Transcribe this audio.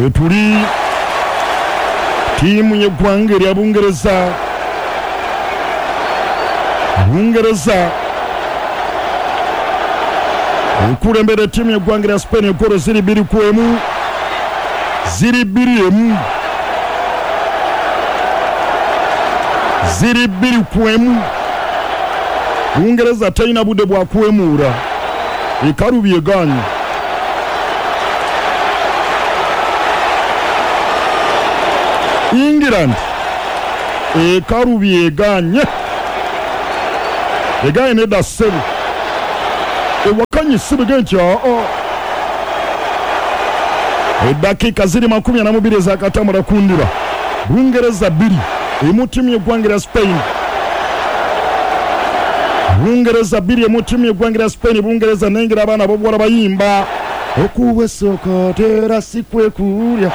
Wetuli ttiimu y'eggwanga erya Bungereza. Bungereza ekulembera ettiimu y'eggwanga erya Spain egoolo ziri bbiri ku emu, ziri bbiri emu, ziri bbiri ku emu. Bungereza terina budde bwa kwemuula, ekalubye egaanye. England ekalubye egaanye, egaanye nedda ssebo, ewakanye ssebo egambye nti aa. Eddakiika ziri 42 ezakatambula ku ndiba, Bungereza bbiri emu ttiimu y'eggwanga erya Spain. Bungereza bbiri emu ttiimu y'eggwanga erya Spain. Bungereza nengera abaana ab'obuwala bayimba okuwa esooka tera si kwe kulya.